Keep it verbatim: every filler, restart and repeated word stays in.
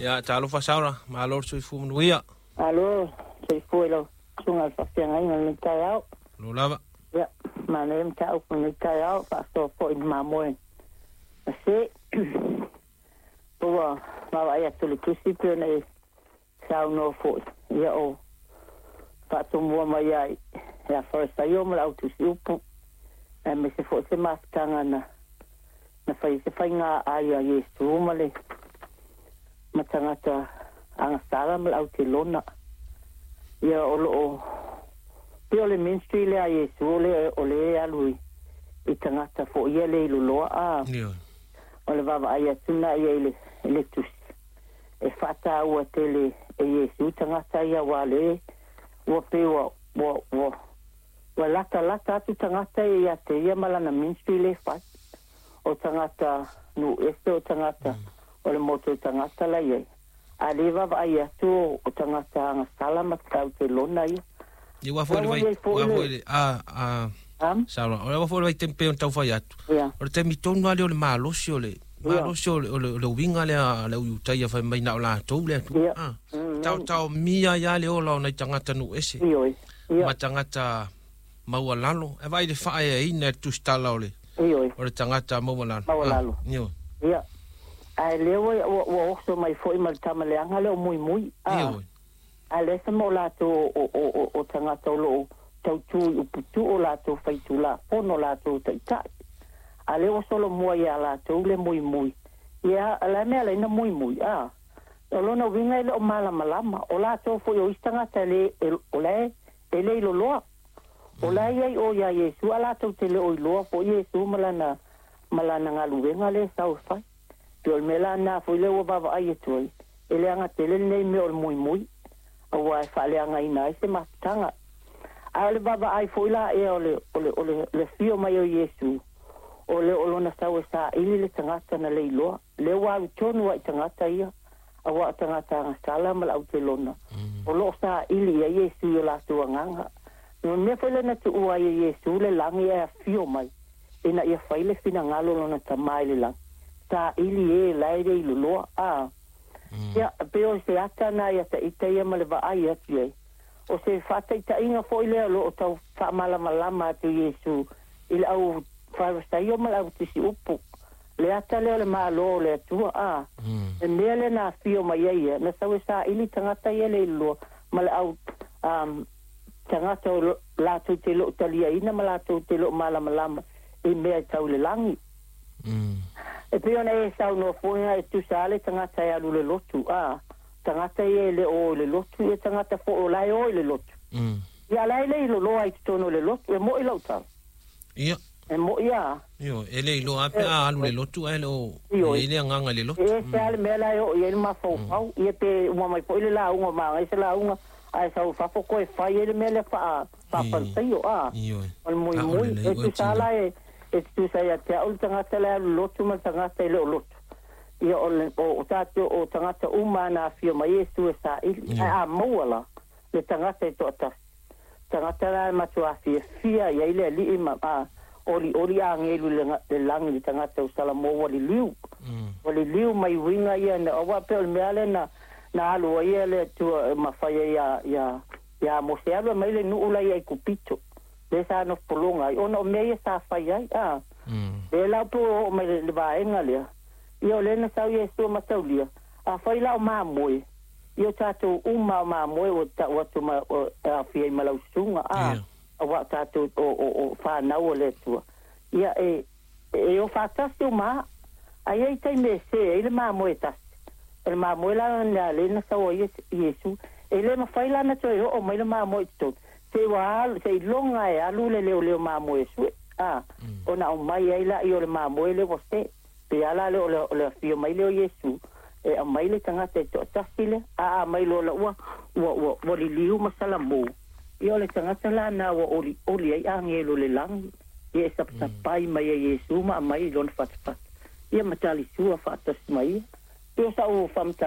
Ia talofa Saola, malo le soifua manuia. Malo soifua i lau susuga i le faafeagaiga i lenei taeao. Malo lava. Ia, manaia mataupu i lenei taeao, faasoa foi i le mamoe na se. Ua vaavaai atu i le tusi pei ona e saunoa foi, ia o faatomua mai ai ia Farisaio ma le au tusiupu, aemaise foi se mafutaga na na fai se faiga ai a Iesu ma le ma tagata agasala ma le autelona. Ia o loo pei o le ministry lea a Iesu o le o le alu i, i tagata foi ia le iloloa a o le vaavaai atu na ia i le, i le tusi e faataua tele e Iesu tagata ia aua le ua pei ua ua ua ua latalata atu tagata ia ia te ia ma lana ministry le fai o tagata nuu ese o tagata o le motu o tagata la iai a le vaavaai atu o tagata agasala ma tautelona ia. Ia ua foi le vai, ua foi le a a Saola, o le ua foi le vaitaimi pei ona taufai atu. O le taimi tonu lava lea o le malosi o le malosi o le o le uiga lea a le au Iutaia fai mai na o latou le Atua. A taotaomia ai lava le ola o nai tagata nuu ese ma tagata maualalo. E vaai i le faaeaina e le tusitala o le o le tagata maualalo. Maualalo. Ia. Ae lea ua ua oso mai foi ma le tama leaga lea o Muimui. A. A lea se mo latou o o o o tagata o lo o tautu i uputuu o latou faitulafono o latou taitai. A lea ua solomua ia latou le muimui. Ia, o le a mea ala ai na muimui? A. O lona uiga e le o malamalama. O latou foi o isi tagata e le, e, o la e, e le iloloa. O la e i ai o ia Iesu, a latou te le o iloa foi Iesu ma lana, ma lana galuega lea e sau e fai. Pei o le mea la lena foi lea ua vaavaai atu ai, e leaga tele lenei mea o le muimui, aua e faaleagaina ai se mafutaga. A o le vaavaai foi la ea o le, o le, o le, le afio mai o Iesu, o le o lona sau e saili le tagata na leiloa, lea ua alu tonu lava i tagata ia, aua o tagata agasala ma le autelona, o lo o saili i ai Iesu i o latou agaga. O le mea foi lea na tuua ai e Iesu le lagi ae afio mai, ina ia fai le finagalo o lona Tama i le lagi, saili e la e le iloloa. A Ia, pei o se ata na ia ta ita ia ma le vaai atu i ai. O se faataitaiga foi lea o lo o tau faamalamalama atu Iesu i le au Farisaio ma le au tusiupu, le ata lea o le Malo o le Atua, a le mea lea na afio mai ai ia, na sau e saili tagata ia le iloloa ma le au um, tagata o latou te le o taliaina ma latou te le o malamalama i mea e tau i le lagi. E pei ona e saunoa foi e tusa le tagata e alu i le lotu, a tagata ia e le o o i le lotu, ia tagata foi o la e o i le lotu. Ia la e le iloloa i totonu o le lotu, e mo'i lau tala. Ia. E mo'i a. Ioe, e le iloa lava pe a alu i le lotu ae le o i ai le agaga i le lotu. E ese lava le mea la e oo i ai le mafaufau, ia pe uma mai foi le lauga o Magaia se lauga, ae sau i fafo koe fai ai le mea lea faa faafaletaio, a. Ioe. O le muimui, e tusa lava la e e tutusa ia te au le tagata la e alu lotu ma le tagata e le o lotu. Ia o le o tatou o tagata uma na afio mai Iesu e saili, ae a maua la le tagata e toatasi. Tagata la e matua fiafia i ai le Alii ma a olioli agelu i le lagi le tagata o Salamo ua liliu. Ua liliu mai uiga ia na aua pei o le mea lea na na alu ai le Atua ma fai ai ia ia ia Mose alu e mai le nuu la i Aikupito lea sa nofo pologa ai ona o mea ia sa fai ai a. Lea la pe ua oo mai le vaega lea ia o lea na sau Iesu ma taulia a fai la o mamoe ia o tatou uma o mamoe ua tau atu ma e aofia ai ma lau susuga a aua o tatou o o o fanau o le Atua ia e e o faatasi uma a i ai taimi e se ai le mamoe e tasi. O le mamoe la lena lea na sau ai Iesu e le mafai la ona toe oo mai le mamoe i totonu se i ua alu se iloga e alu le leoleo mamoe e sue a ona aumai ai laia o le mamoe lea ua se pe a la lea o le o le afio mai lea o Iesu e aumai le tagata e toatasi lea a aumai loa la ua ua ua ua liliu ma salamu ia o le tagata lana ua olioli ai agelo o le lagi ia e sapasapai mai ai Iesu ma aumai i lona fatafata ia ma talisua faatasi mai ia. Pei o sa'u faamatalaga.